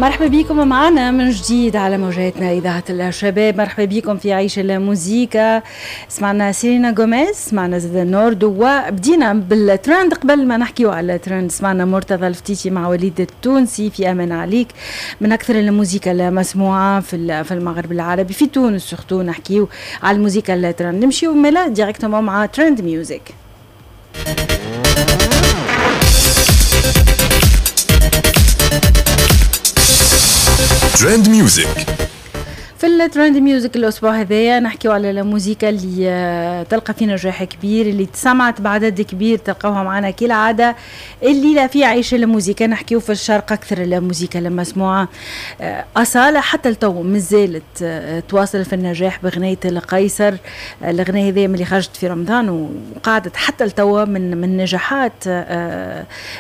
مرحبا بكم معنا من جديد على موجاتنا إذاعة الشباب. مرحبا بكم في عيش الموزيكا. سمعنا سيلينا غوميز، سمعنا زاد نوردو، وبدينا بالترند. قبل ما نحكيو على الترند سمعنا مرتضى الفتيتي مع وليد التونسي في أمان عليك، من أكثر الموزيكا المسموعة في المغرب العربي، في تونس surtout. نحكيو على الموزيكا الترند. نمشيو ملا directement مع trend music. trend music. في ال trend music الاسبوع هذايا نحكيو على الموسيقى اللي تلقى في نجاح كبير، اللي تسمعت بعدد كبير، تلقاوها معنا كالعادة الليلة في عيش الموسيقى. نحكيو في الشرق اكثر الموسيقى المسموعة. اصاله حتى لتو مازالت تواصل في النجاح بغنيه القيصر. الغنية هذه اللي خرجت في رمضان وقعدت حتى لتو من نجاحات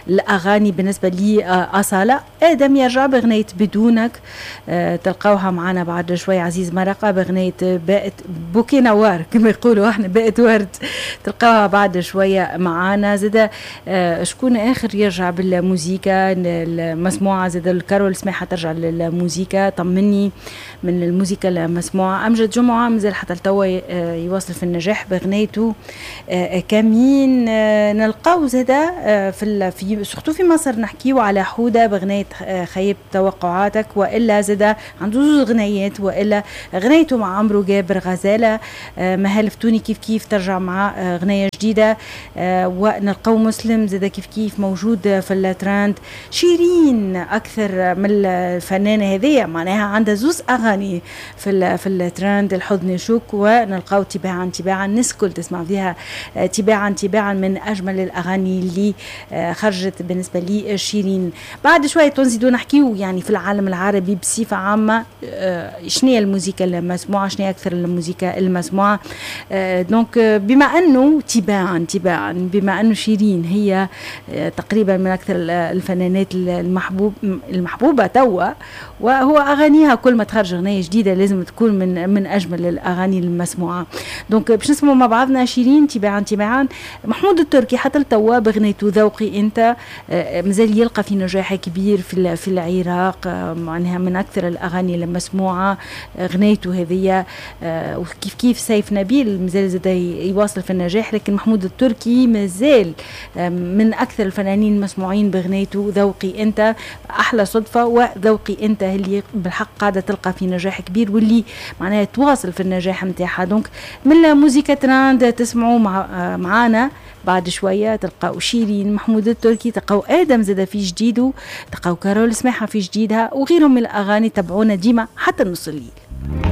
الاغاني بالنسبة لي. اصاله ادم يرجع بغنيه بدونك، تلقاوها معنا بعد شوي. عزيز مرقة بغنية بقت بوكي نوار كما يقولوا احنا، بقت ورد، تلقاها بعد شوية معانا. زاد شكون اخر يرجع بالموزيكا المسموعة؟ زاد الكارول سماحة ترجع للموزيكا، طمني من الموزيكا المسموعة. أمجد جمعة مازال حتى لتوا يواصل في النجاح بغنيته كمين. نلقاو زاد في surtout في مصر نحكيو على حودة بغنية خيب توقعاتك، والا زاد عنده زوج غنيات، والا غنيته مع عمرو جابر غزاله. مهال فتوني كيف كيف ترجع مع غنية جديدة. ونلقاو مسلم زاد كيف كيف موجود في الترند. شيرين اكثر من الفنانة هذيا معناها عندها زوز اغاني في الترند، الحضن يشوك، ونلقاو تباعا تباعا الناس الكل تسمع فيها. تباعا تباعا من اجمل الاغاني اللي خرجت بالنسبة لي شيرين. بعد شوية نزيدو نحكيو يعني في العالم العربي بصفة عامة شنو هي الموسيقى المسموعة، شنو هي اكثر الموسيقى المسموعة. donc بما انه تباعا تباعا، بما انه شيرين هي تقريبا من اكثر الفنانات المحبوبة توا، وهو اغانيها كل ما تخرج اغنية جديدة لازم تكون من اجمل الاغاني المسموعة. donc باش نسمعوا مع بعضنا شيرين تباعا تباعا. محمود التركي حتى لتوا بغنيته ذوقي انت مازال يلقى في نجاح كبير في العراق، معناها من اكثر الاغاني المسموعة غنيته هذيا. وكيف كيف سيف نبيل مازال زاد يواصل في النجاح، لكن محمود التركي مازال من اكثر الفنانين المسموعين بغنيته ذوقي انت. احلى صدفة وذوقي انت اللي بالحق قاعدة تلقى في نجاح كبير واللي معناها تواصل في النجاح نتاعها. donc من الموسيقى ترند تسمعوا معانا بعد شوية، تلقاو شيرين، محمود التركي، تلقاو ادم زاد في جديدة، تلقاو كارول سماحة في جديدها، وغيرهم من الاغاني. تبعونا ديما حتى نص الليل.